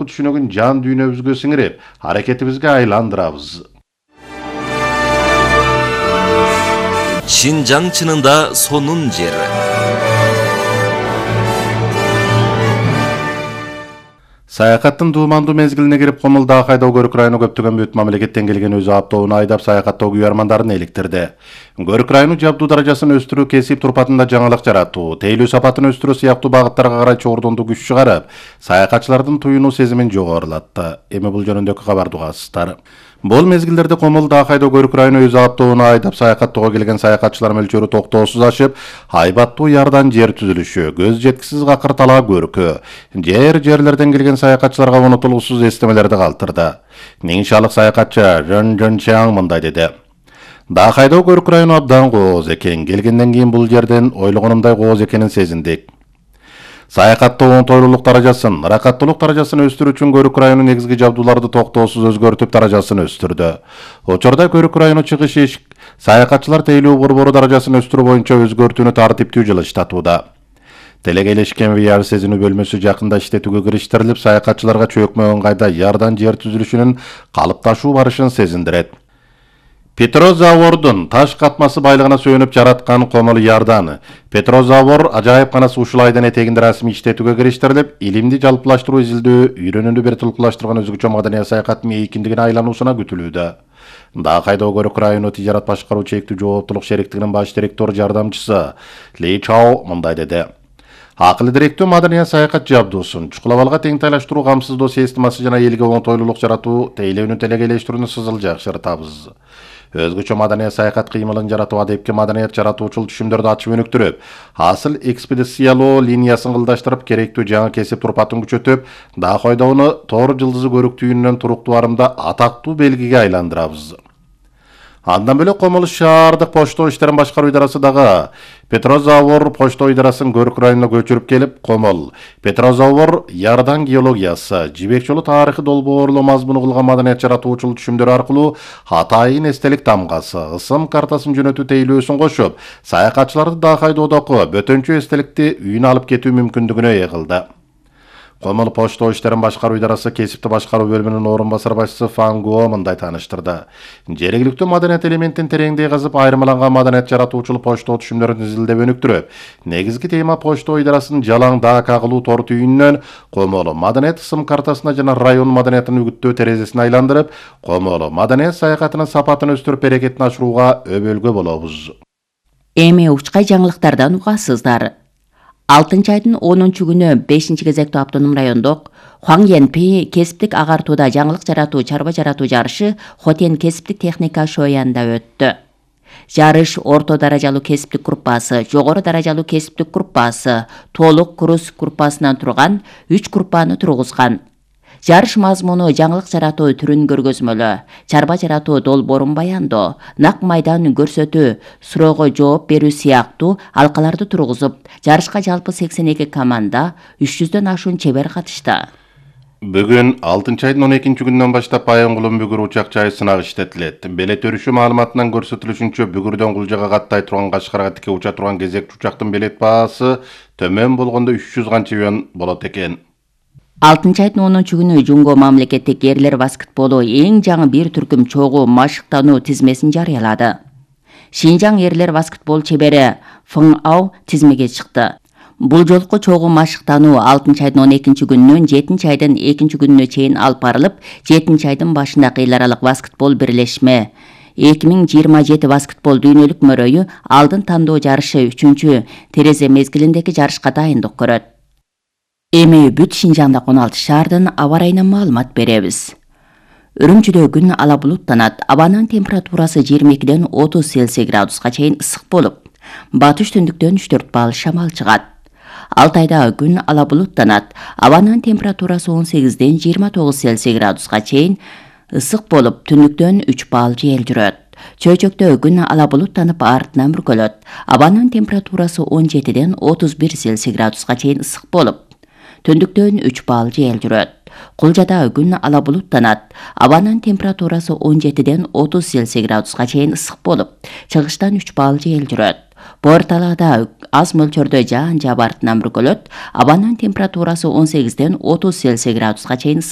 жогорку түшүнүгүн жан дүйнөбүзгө сиңирип, аракетибизге айландырабыз. Шинжаң чынында сонун жер. Саякаттын дуумандуу мезгилине кирип, Комулда кайдоо көрүк району көптөгөн бүт мамлекеттен келген өзү автоуну айдап саякаттоо күйөрмандарын эликтирди. Көрүк району жабдуу даражасын өстүрүү, кесип турпатында жаңылык жаратуу, тейлөө сапатын өстүрүү сыяктуу багыттарга карай чогордондуу күч чыгарып, саякатчылардын туюнуу сезимин жогорулатты. Эми бул жөнүндөгү кабарды угасыздар. Бул мезгилдерде Комулда кайдоо көрүк району өзү автоуну айдап саякаттоого келген саякатчылар мөлчөрү токтоосуз ашып, айбаттуу ярдан жер түзүлүшү, көз жеткисиз какырталаа көркү, жерлерден келген саякатчыларга унутулуусуз эстемелерди калтырды. Ниншалык саякатчы Жон Чаң мындай деди: "Да кайдоо көрүк району абдан кооз экен. Келгенден кийин бул жерден ойлогонумдай кооз экенин сезиндик. Саякаттоонун тойлуулук даражасын, ыракаттуулук даражасын өстүрүү үчүн көрүк району негизги жабдууларды токтоосуз өзгөртүп даражасын өстүрдү. Учурда көрүк району чыгыш эшик саякатчылар тейлөө борбору даражасын өстүрүү боюнча өзгөртүүнү тартиптүү жылыштатууда. Делегейлешкен VR сезинүү бөлмөсү жакында иштетүүгө кириштирилип, саякатчыларга чөкмө ыңгайда ярдан жер түзүлүшүнүн калыпташуу барышын сезиндирет. Петрозавордун таш катмасы байлыгына сүйөнүп жараткан Комул ярдан. Петрозавор ажайыпканасы ушул айдын этегинде расмий иштетүүгө кириштирилип, илимди жалпылаштыруу, изилдөө, үйрөнүүнү бир тулкулаштырган өзгөчө маданий саякаттын эйкиндигине айлануусуна күтүлүүдө. Да кайдоо көрүк району тижарат башкаруу чектүү жооптулук шериктигинин баш директору жардамчысы Ли Чао мындай деди: "Акылы директөө маданий саякат жабдуусун чукул абалга тең тайлаштыруу, камсыздоо системасы жана элге оңтойлуулук жаратуу, тейлөөнү телегейлештирүүнү сызыл жакшыртабыз. Өзгөчө маданий саякат кыймылын жаратуу, адепке маданият жаратуучул түшүмдөрдү ачып өнүктүрүп, асыл экспедициялоо линиясын кылдаштырып, керектүү жаңы кесип турпатын күчөтүп, да койдоону Тор жылдызы көрүк түйүнүнөн туруктуу арымда атактуу белгиге айландырабыз." Андан бөлөк Комул шаардык почто иштерин башкаруу идарасы дагы Петрозавор почто идарасын көрүк районуна көчүрүп келип, Комул Петрозавор ярдан геологиясы, жибек жолу тарыхы долбоорлоо мазмуну кылган маданият жаратуучул түшүмдөр аркылуу Атайын эстелик тамгасы, ысым картасын жөнөтүү тейлөөсүн кошуп, саякатчыларды да кайдоодогу бөтөнчө эстеликти үйүнө алып кетүү мүмкүндүгүнө ээ кылды. Комул почто иштерин башкаруу идарасы кесипти башкаруу бөлүмүнүн орун басар башчысы Фан Гуо мындай тааныштырды: "Жергиликтүү маданият элементин тереңдей казып, айырмаланган маданият жаратуучул почто түшүмдөрүн изилдеп өнүктүрүп, негизги тема почто идарасынын жалаң да кагылуу тор түйүнүнөн Комул маданият ысым картасына жана район маданиятын үгүттөө терезесин айландырып, Комул маданият саякатынын сапатын өстүрүп, берекетин ашырууга өбөлгө болобуз." Эми учкай жаңылыктардан угасыздар. 6-айдын 10-күнү 5-кезектүү автоном райондук Хуаңьянпи кесиптик агартууда жаңылык жаратуу, чарба жаратуу жарышы Хотен кесиптик техника шоянда өттү. Жарыш орто даражалуу кесиптик группасы, жогору даражалуу кесиптик группасы, толук курс группасынан турган 3 группаны тургузган. Жарыш мазмуну жаңылык жаратуу түрүн көргөзмөлөө, чарба жаратуу долбоорун баяндоо, нак майдан көрсөтүү, суроого жооп берүү сыяктуу алкаларды тургузуп, жарышка жалпы 82 команда, 300дөн ашуун чебер катышты. Бүгүн 6-айдын 12-күнүнөн баштап Айоңгулун бүгүр учак жайы сынак иштетилет. Белет өрүшү маалыматынан көрсөтүлүшүнчө, бүгүрдөн Кулжага каттай турган Кашкарга тике уча турган кезекчи учактын белет баасы төмөн болгондо 300 канча юан болот экен. 6-айдын 10-күнү Жунго мамлекеттик эрлер баскетболу эң жаңы бир түркүм чогуу машыктануу тизмесин жарыялады. Шинжаң эрлер баскетбол чебери Фың Ау тизмеге чыкты. Бул жолку чогуу машыктануу 6-айдын 12-күнүнөн 7-айдын 2-күнүнө чейин алып барылып, 7-айдын башында эл аралык баскетбол бирлешме 2027 баскетбол дүйнөлүк мөрөйү алдын тандоо жарышы 3-чү терезе мезгилиндеги жарышка дайындык көрөт. Эми бүт Шинжаңда 16 шаардын аба ырайынан маалымат беребиз. Үрүмчүдө күн ала булуттанат, абанын температурасы 22ден 30 Цельсий градуска чейин ысык болуп, батыш түндүктөн 3-4 балл шамал чыгат. Алтайда күн ала булуттанат, абанын температурасы 18ден 29 Цельсий градуска чейин ысык болуп, түндүктөн 3 балл жел жүрөт. Чөйчөктө күн ала булуттанып, артынан бүркөлөт, абанын температурасы 17ден 31 Цельсий градуска чейин ысык болуп, түндүктөн 3 балл жел жүрөт. Кулжада күн ала булуттанат, абанын температурасы 17ден 30 Цельсий градуска чейин ысык болуп, чыгыштан 3 балл жел жүрөт. Борталада аз мөлчөрдө жаан жаап артынан бүркөлөт, абанын температурасы 18ден 30 Цельсий градуска чейин